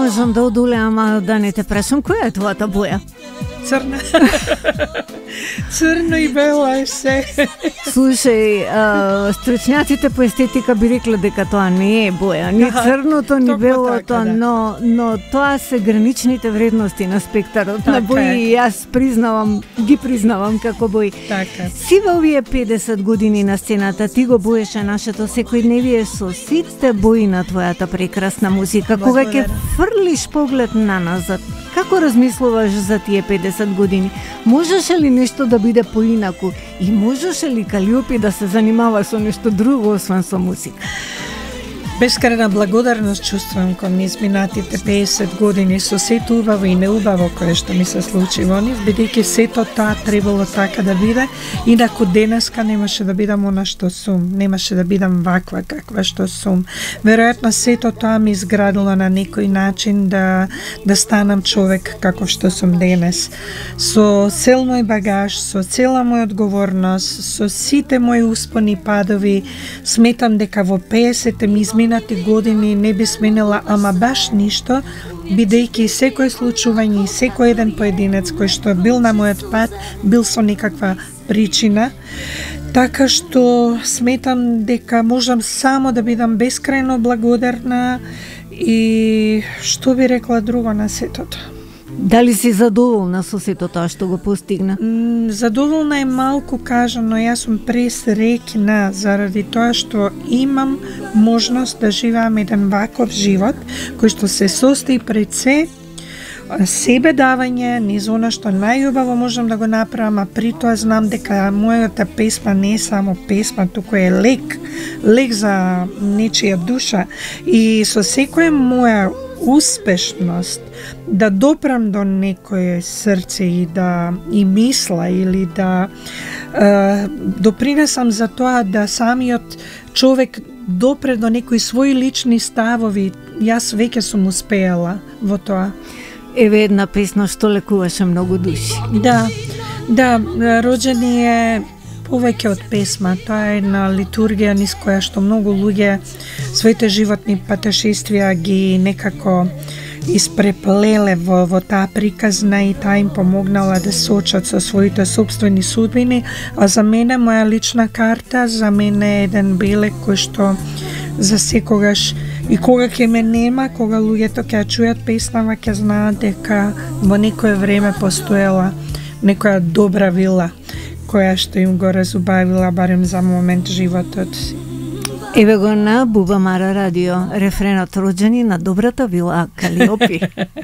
можам да одолеам, да не те прашам, која е твојата боја? Црна. Црно и бело е се. Слушај, стручњаците по естетика би рекле дека тоа не е боја, ни црното, ни белото, така, да. но тоа се граничните вредности на спектарот на бои и јас ги признавам како бои. Така. Си во овие 50 години на сцената, ти го боеше нашето секојдневие со сите бои на твојата прекрасна музика. Кога ќе фрлиш поглед на назад, како размислуваш за тие 50 години? Можеше ли нешто да биде поинаку? И можеше ли Калиопи да се занимава со нешто друго освен со музика? Бескрајна благодарност чувствувам кон изминатите 50 години со сето убаво и неубаво кое што ми се случи во нив, бидејќи сето тоа требало така да биде, инаку денеска немаше да бидам она што сум, немаше да бидам ваква каква што сум. Веројатно сето тоа ми изградило на некој начин да станам човек каков што сум денес. Со цел мој багаж, со цела моја одговорност, со сите мои успони и падови, сметам дека во 50-те ми изминати години не би сменила ама баш ништо, бидејќи секој случување и секој еден поединец кој што бил на мојот пат, бил со некаква причина, така што сметам дека можам само да бидам бескрајно благодарна и што би рекла друго на сето тоа. Дали си задоволна со сето тоа што го постигна? Задоволна е малку кажано, јас сум пресреќна заради тоа што имам можност да живеам еден ваков живот кој што се состои пред себе давање, низ она што најубаво можам да го направам, а при тоа знам дека мојата песма не е само песма, туку е лек за нечија душа и со секоја моја успешност да допрам до некое срце и мисла или да допринесам за тоа да самиот човек допре до некои своји лични ставови, јас веќе сум успеала во тоа. Еве една песна што лекуваше многу души. Да, роđeni е повеќе од песма, тоа е една литургија низ која што многу луѓе своите животни патешествија ги некако испреплеле во таа приказна и таа им помогнала да се соочат со своите собствени судбини, а за мене, моја лична карта, за мене е еден белег кој што за секогаш и кога ќе ме нема, кога луѓето ќе чујат песнава, ќе знаат дека во некое време постоела некоја добра вила која што им го разубавила барем за момент животот. Еве го на Буба Мара радио, рефренот роđeni на добрата вила Калиопи.